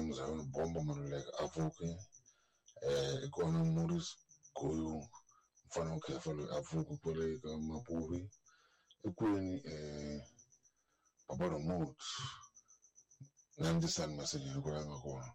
Muzayoni Bombo Maluleke a pfuki i kona Morris Goyu mfana wa khefa loyi a pfuki kwale ka Mapuvi i kwini Papa Remote na Ndzisani Masenyani kwala nga kona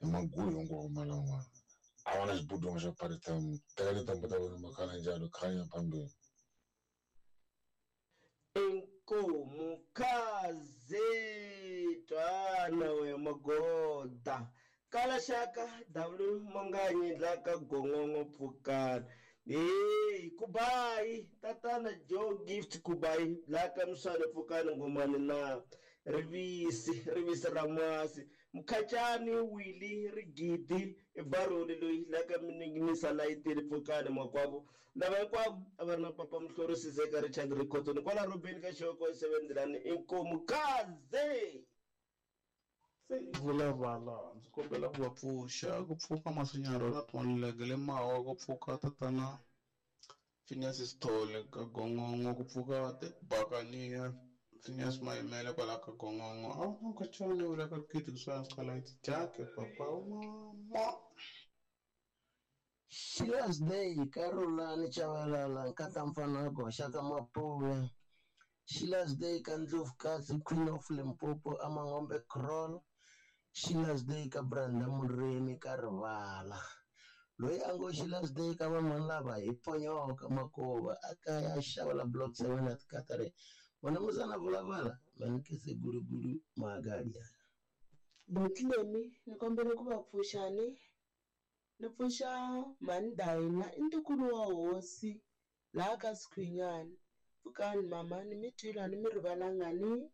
i maguyu hinkwawo malan'wana a va na xibudwana xa party time teka tintambu ta wena makhala njalo khanya phambili. Inkomu khaze twana we magoda kala xaka W Manganyi la ka gongongo pfukana hey kubayi tatana Joe Gift kubayi la ka miswane pfukani ngomani na rivisi rivisi ra masi mukhachani Willy rigidi i baroli loyi la ka mininginisa layitini pfukani makwavo lava hinkwavo a va ri na papa Muhlori Sizeka Richard Rikhotoni kwala Robeni ka Xoko 7 Ndilani inkomu kaze. Vulavala ndzi kombela ku va pfuxa ku pfuka Masinyaro na Maluleke le Mawa ku pfuka tatana Phineas Sithole ka Gongongo ku pfuka Bakania Phineas Mayimele kwala ka Gongongo a wu na nkhachani wu le ka Kid kusuhani Scarlet Jack papa wa mama. Sheila's Day ka Rhulani Chavalala nkata mfana goxa ka Mapuve. Sheila's Day ka Ndlovukazi Queen of Limpopo Amangombe Crawl. Sheila's Day ka Brenda Murimi ka Rivala. Loyi a ngo Sheila's Day ka van'wana lava hi ponyoka makova a kaya a xava la block 7 at Katare. Vona muzana vulavala manikese guruguru magadia. Botlemi ni kombela ku va pfuxani. Ni pfuxa mhani Dayina i ntukulu wa hosi laha ka Sikhwinyana. Pfukani mama ni mi twile a ni mi rivalanga ni.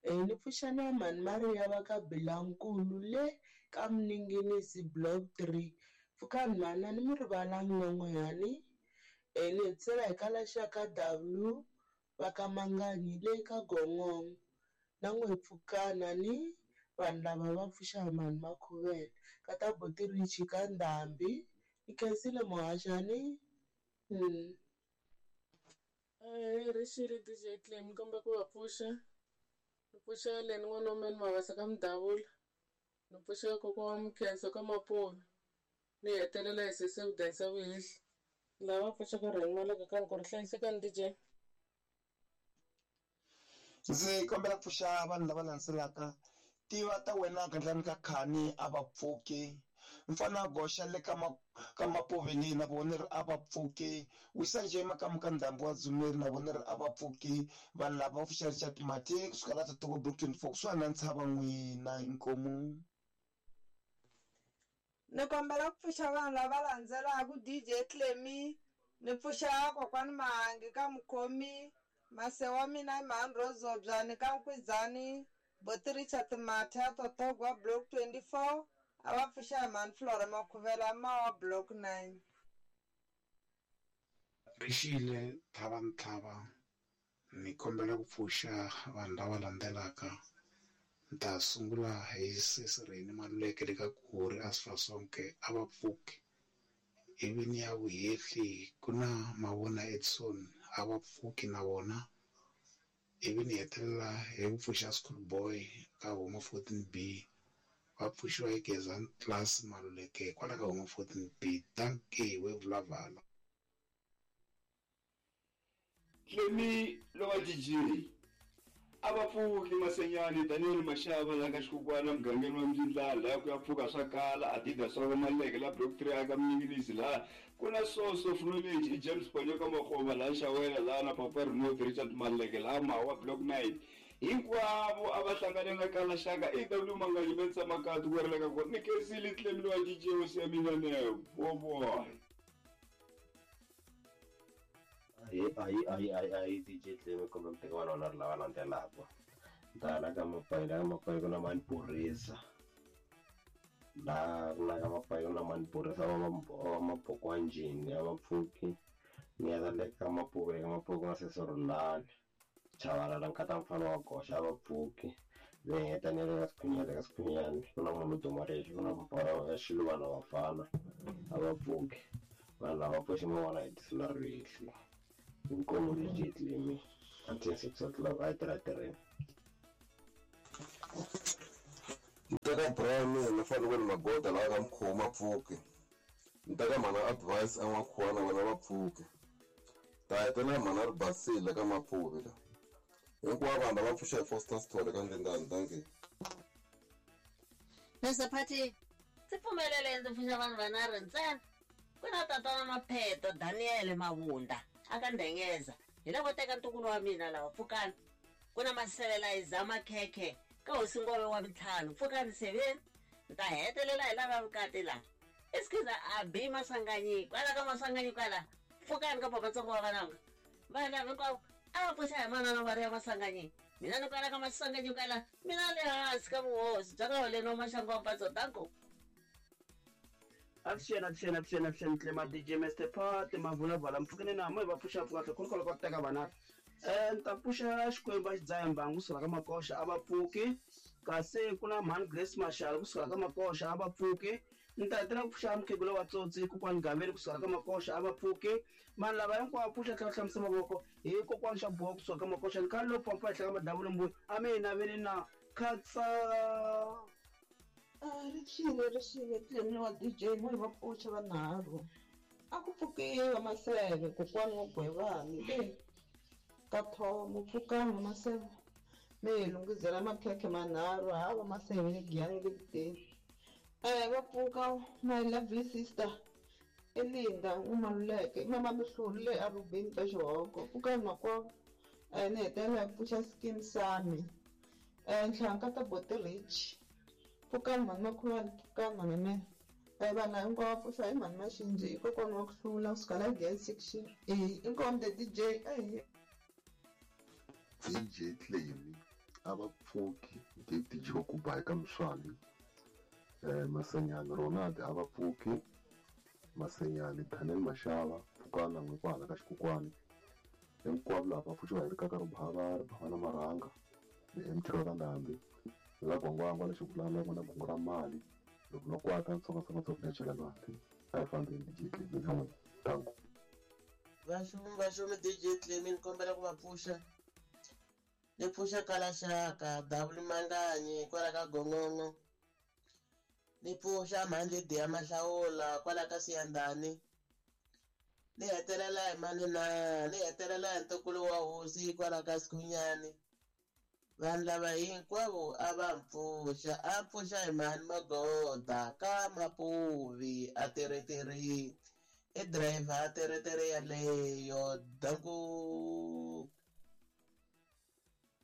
Ni pfuxa na mhani Maria va ka Bilankulu le ka Mninginisi block 3. Pfukani mhani a ni mi rivalanga na n'wehani. Ni hetisela hi kala xa ka W va ka Manganyi le ka Gongongo. Na n'we pfukana ni vanhu lava va pfuxa mhani Makhuvele ka ta Buti Richi ka Ndhambi. Ni khensile muhaxani. Rixile DJ Clem kombe ku va pfuxa. Ni pfuxa Leni n'wana wa mina Mavasa ka Mudavula. Ni pfuxa kokwa wa Mkhenso ka Mapuve. Ni hetelela hi sesi Vudanisa Vuhehli. Lava pfuxaka Rheni Maleka ka Nkoro hlayisekani DJ. Ndzi kombela ku pfuxa vanhu lava landzelaka tiva ta wena gandlani ka khani a va pfuki mfana goxa le ka ka Mapuve leyi na vona ri a va pfuki wisa nje makamu ka ndhambi wa Dzumeri na vona ri a va pfuki vanhu lava va pfuxa Richard Mate kusuka la Tatogo Block 24 kusuhani na ntshava n'wina inkomu. Ni kombela ku pfuxa vanhu lava landzelaka DJ Clemi ni pfuxa kokwani Mahangi ka Mukhomi mase wa mina i mhani Rozobyani ka Nkwidzani Buti Richard Mathe Totogwa Block 24 a va pfuxa hi mhani Flora Makhuvela Mawa Block 9. Rixile Thava Ntlhava ni kombela ku pfuxa vanhu lava landzelaka. Ni ta sungula hi sesi Reni Maluleke le ka Kuri Asfasonke a va pfuki. Ivi ni ya Vuhehli ku na Mavona Edson a va pfuki na vona. Ivi ni hetelela hi ku pfuxa School Boy ka Home 14B va pfuxiwa hi Gezani Class Maluleke kwala ka Home 14B. Dankie we vulavala. Clemi lowa DJ a va pfuki Masenyani Daniel Mashava la ka Xikukwana mugangeni wa Mzindlala la ku ya pfuka swa kala Adidas wa Maluleke la Block 3 aka Mninginisi la ku na source of knowledge i James Ponyoka Makgoma la Xawela la na Papa Remote Richard Maluleke la Mawa Block 9 hinkwavo a va hlangane na kala xaka E W Manganyi Mensa Makatu ku ri le ka kona ni khensile Clemi lowa DJ hosi ya mina ne boboy. Ayi ayi ayi ayi ayi DJ Clemi kumbe muteki wa lona ri lava landzelaka. Ndala ka Mapayi la ka Mapayi ku na mani Purisa. La la ka Mapayi ku na mani Purisa va Mabokwa njhini a va pfuki. Ni ya le ka Mapuve ka Mapuve ku na sesi Rhulani. Chavalala nkata mfana wa goxa a va pfuki. Ni heta ni le ka Sikhunyani ka Sikhunyani ku na munhu duma lexi ku na mufana wa Xiluvana vafana a va pfuki. Vanhu lava pfuxi mavona hi tisula rihli. Inkomu DJ Clemi until 6 o'clock a yi tirha tirheni. ka Brian ni fanele ni magoda lawa ka mkhoma pfuki. Ni ta ka mhana advice a n'wakhuwana vana va pfuki. Ta hetelela mhana ri basile ka Mapuvi la. Hinkwavo vanhu lava pfuxa hi Foster Sithole ka Ndlindani, dankie. Mr Party, ndzi pfumelele ndzi pfuxa vanhu vanharhu ntsena. Ku na tatana Mapheto Daniel Mavunda a ka Ndengeza. Hi lavo teka ntukulu wa mina lava, pfukani. Ku na Masevela Iza Makhekhe ka Hosi Ngove wa Mintlhanu, pfukani seveni. Ni ta hetelela hi lava vukati la. I Skhiza Abi Maswanganyi kwala ka Maswanganyi kwala, pfukani ka Papatsongo wa Vananga. Vanhu lava hinkwavo a va pfuxa hi manana va ri ya Maswanganyi. Mina ni kwala ka Maswanganyi kwala, mina le hansi ka vuhosi bya ka Holeni wa Maxangu wa Mpatso, danko. Avuxeni, avuxeni, avuxeni, avuxeni, Tlema DJ Mr Party, Mavulavala, mpfukeni na mo hi va pfuxa pfuka tlhe kholokholo ka ku teka vanharhu. Ni ta pfuxa Xikwembu a xi dzaha mbangu kusuka ka Makoxa a va pfuki, kasi ku na mhani Grace Mashalo kusuka ka Makoxa a va pfuki. Ni ta hetelela ku pfuxa mukhegula wa Tsotsi kokwani Gaveni kusuka ka Makoxa a va pfuki. Vanhu lava hinkwavo pfuxa tlhela hlamusa mavoko hi kokwani xa boha kusuka ka Makoxa ni khale lo pfapfa henhla ka madavula mbuya a mi hi naveli na khatsa. Ri xile ri xile Clemi wa DJ mo hi va pfuxa vanharhu a ku pfukiwa Maseve kokwani wa Gwevani le ka Thomo pfukani va Maseve mi hi lunghizela makhekhe manharhu ha va Maseve le Giyani le kuteni va pfuka my lovely sister Elinda n'wamaluleke i mama Mihluli le Arubini ka Xihoko pfukani makwavo ni hetelela hi pfuxa Skeem Saam ntlhanka ta Boti Rich pfukani mhani Makhuwani pfukani mhani Mene vanhu hinkwavo va pfuxa hi mhani Maxinji i kokwani wa ku hlula kusuka la Giyani section A inkomu the DJ ahee. DJ Clemi a va pfuki DJ wa ku ba eka Mswani Masenyani Ronald a va pfuki Masenyani Daniel Mashava pfukana n'we kwahala ka Xikokwani hinkwavo lava va pfuxiwa hi rikaka ro bava ri bava na marhanga ni MT ra Ndhambi la gwangwangwa lexi vulana ku na gungu ra mali loko no kwata ntsongo ntsongo ya chela lwandle a hi fambeni DJ Clemi na n'wina danko. Vaxumi vaxumi DJ Clemi ni kombela ku va pfuxa ni pfuxa Kalaxaka W Manganyi kwala ka Gongongo ni pfuxa mhani Lydia Mahlawula kwala ka Siyandhani ni hetelela hi mani na ni hetelela hi ntukulu wa hosi kwala ka Sikhunyani. Vanhu lava hinkwavo a va mpfuxa a pfuxa hi mhani Magoda ka Mapuvi a teretere i driver a teretere yaleyo danku.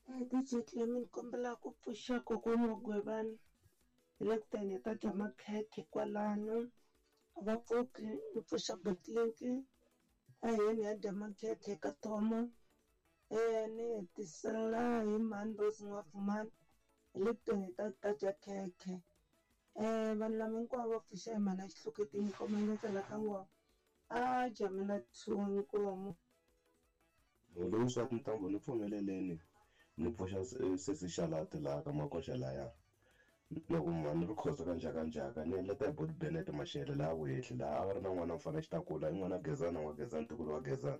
DJ Clemi ni kombela ku pfuxa kokwani wa Gwevani hi le ku teni hi ta dya makhekhe kwalano a va pfuki ni pfuxa Botlink a hi yeni hi ya dya makhekhe ka Thoma ni hetisela hi mhani Rose N'wafumani hi le ku teni hi ta dya khekhe vanhu lava hinkwavo va pfuxa hi mhani a Xihloketini komba ka ngoma a jamela 2 inkomu. Loyi swa tintambu ni pfumeleleni ni pfuxa sesi Xalati laha ka Makoxa laya loko mhani ri khosa ka njhakanjhaka ni heleta hi Boti Bennett Mashele laha vuhehli laha a va ri na n'wana mfana xitakula i n'wana Gezana wa Gezana ntukulu wa Gezana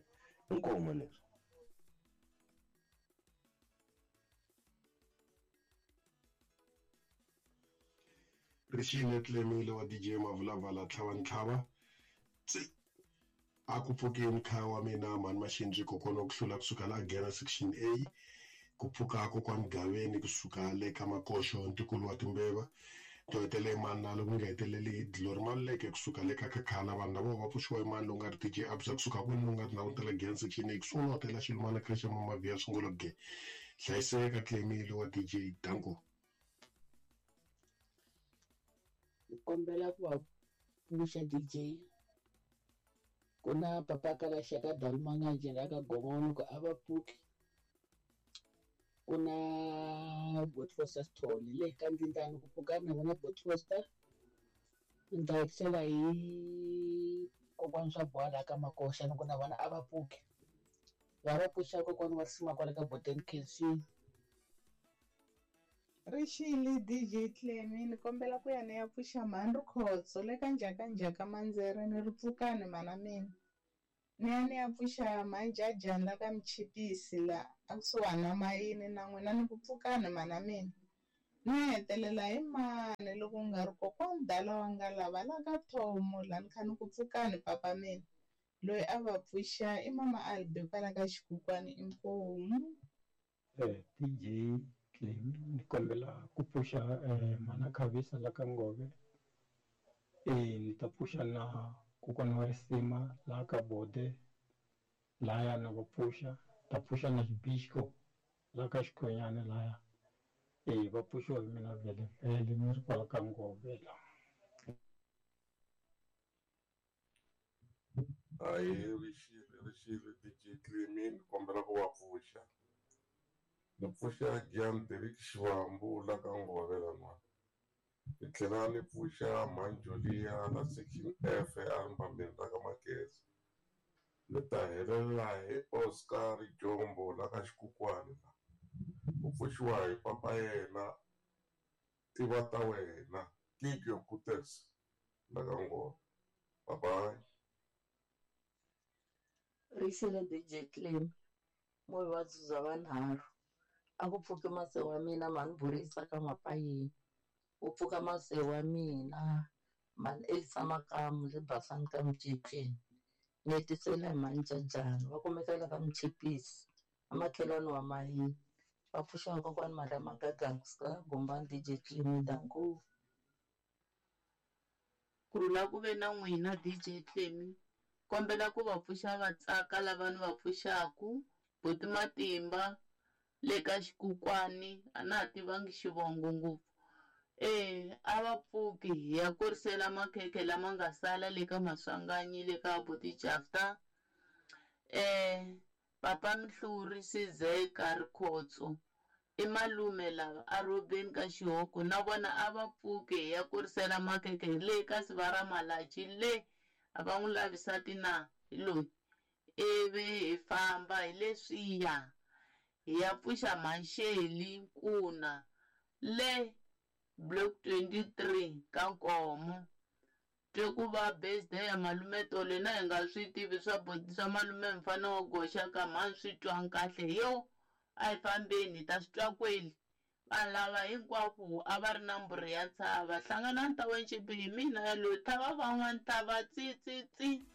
inkomu ni Rixile Clemile wa DJ Mavulavala tlhava ntlhava tsi a ku pfukeni khaya wa mina mhani Maxinji kokwana wa ku hlula kusuka la Gera section A ku pfuka kokwani Gaveni kusuka le ka Makoxo ntukulu wa Timbeva to hetelela mani na loko nga heteleli hi Glory Maluleke kusuka le ka Khakhala vanhu lava va pfuxiwa hi mani lowu nga ri DJ Absa kusuka kwini lowu nga tindhawu ta le Gera section A kusuka na hotela Xilumana Creche Mama Via Sungula ge hlayiseka Clemile wa DJ danko. Ni kombela ku va pfuxa DJ ku na papa Kalaxaka Dalumanganje la ka Gongono ku a va pfuki ku na Bot Foster Sithole le ka Ndlindlani ku pfuka na vona Bot Foster ni ta hetisela hi kokwani swa boha laha ka Makoxa ni ku na vona a va pfuki va va pfuxa kokwani wa risima kwale ka Boten Kensini. Rixile DJ Clemi ni kombela ku ya ni ya pfuxa mhani Rikhotso le ka njhakanjhaka Mandzere ni ri pfukani mhana mina ni ya ni ya pfuxa mhani Jajani la ka Mchipisi la a kusuhani na Mayini na n'wina ni ku pfukani mhana mina Ni hetelela hi mani loko ku nga ri kokwani dala wa nga lava la ka Thomo la ni kha ni ku pfukani papa mina. Loyi a va pfuxa i mama Albi kwala ka xikukwani inkomu. DJ Clem ni kombela ku pfuxa mana Khavisa la ka Ngove ni ta pfuxa na kokwana wa risima laha ka Bode laya na va pfuxa ta pfuxa na Xibixko laha ka Xikhonyana laya va pfuxiwa hi mina vhele vhele ni ri kwala ka Ngove la. Ahee rixile rixile DJ Clemi ni kombela ku va pfuxa ni pfuxa Gian Derek Xivambu la ka Ngove laniwani ni tlhela ni pfuxa Mhani la section F a ri mbambeni ra ka Mageza ni ta helela hi Oscar Jombo la ka Xikukwani la ku pfuxiwa hi papa yena tiva ta wena Kikyo Kutes la ka Ngove bye bye. Rixile DJ Clem mo hi vuvabyi bya vanharhu a ku pfuki mase wa mina mhani Borisa ka Mapayeni ku pfuka mase wa mina mhani Elisa Makamu le Basani ka Miceceni ni hetisela hi mhani Jajani va kumeka la ka Mchipisi amakhelwani wa Mayini va pfuxa kokwani Maria Magaga kusuka ka Gombani DJ Clem danko. Kurhula ku ve na n'wina DJ Clemi kombela ku va pfuxa va tsaka lava ni va pfuxaku buti Matimba le ka xikukwani a na ha tivangi xivongo ngopfu e a va pfuki hi ya kurisela makhekhe lama nga sala le ka Maswanganyi le ka buti Jafta papa Mhluri Sizeka Rikhotso i malume lava a rhobeni ka xihoko na vona a va pfuki hi ya kurisela makhekhe hi le ka Sivara Malachi le a va n'wi lavisati na hi loyi ivi hi famba hi leswiya hi ya pfuxa Masheli Nkuna le block 23 ka Nkomo twe ku va birthday ya malume Tolo na hi nga swi tivi swa swa malume mfana wa goxa ka mhani swi twanga kahle yo a hi fambeni hi ta swi twa kweli vanhu lava hinkwavo a va ri na mbhuri ya ntshava hlanganani ta wencimbi hi mina yaloyi thava van'wani thava tsi tsi tsi.